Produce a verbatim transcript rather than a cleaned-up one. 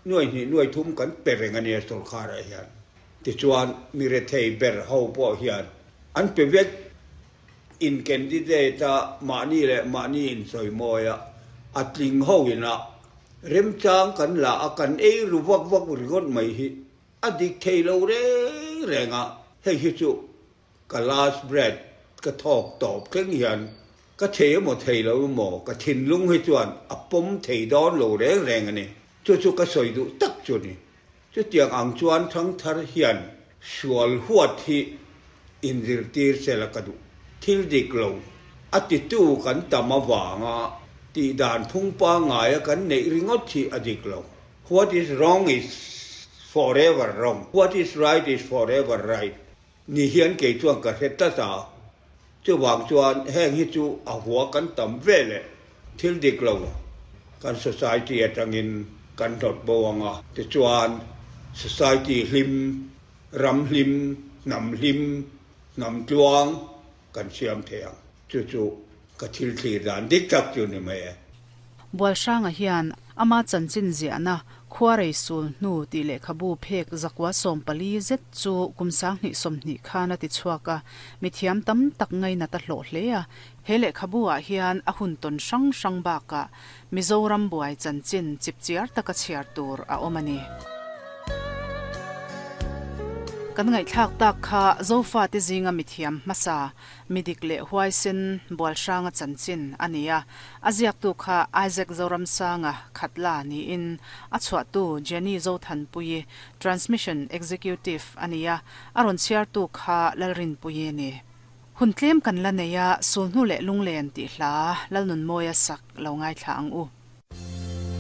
Nuai hnih nuai thum kan pe reng a nia sorkarah hian. Tichuan mi rethei ber ho pawh hian an pe vek. In candidate a mahni leh mahni insawimawi a, a tling ho ina remchang kan la a kan ei ru vak vak ringawt mai hi a dik thei lo reng reng a, hei hi chu ka last breath ka thawk tawp thleng hian ka thei emaw thei lo emaw ka thinlung hi chuan a pawm thei dawn lo reng reng a ni. Chu chu ka sawi duh tak chu ni. Chutiang ang chuan thangthar hian sual huat hi inzirtir sela ka duh. Thil dik lo a titu kan tam avanga tih dan phung pangngaia kan neih ringawt hi a dik lo. What is wrong is forever wrong, what is right is forever right ni hian kei chuan ka hre tlat a. Chuvang chuan heng hi chu a hua kan tam ve leh thil dik lo kan society atangin kan hlawt bo ang a, tichuan society hlim, ram hlim, hnam hlim, hnam tluang kan siam thei ang. Chu chu ka thil thlir dan dik tak chu ni mai e. Bualhranga hian ama chanchin ziahna Khuarei sul hnu tih lehkhabu phek zakua sawm pali zet chu kum sanghnih sawmhnih khan a ti chhuak a, mithiam tam tak ngainat a hlawh hle a. He lehkhabu ah hian a hun tawn hrang hrang bakah Mizoram buai chanchin chipchiar taka chhiar tur a awm a ni. Kan ngaihthlak tak kha Zofate zinga mithiam hmasa, midik leh huaisen Bualhranga chanchin a ni a. A ziaktu kha Isaac Zoramsanga Khatla niin a chhuahtu Jenny Zothanpuii, Transmission Executive a ni a, a rawn chhiartu kha Lalrinpuii a ni. Hun tlem kan la nei a, Sulhnu leh Lunglen tih hla Lalnunmawia sak lo ngaithla ang u.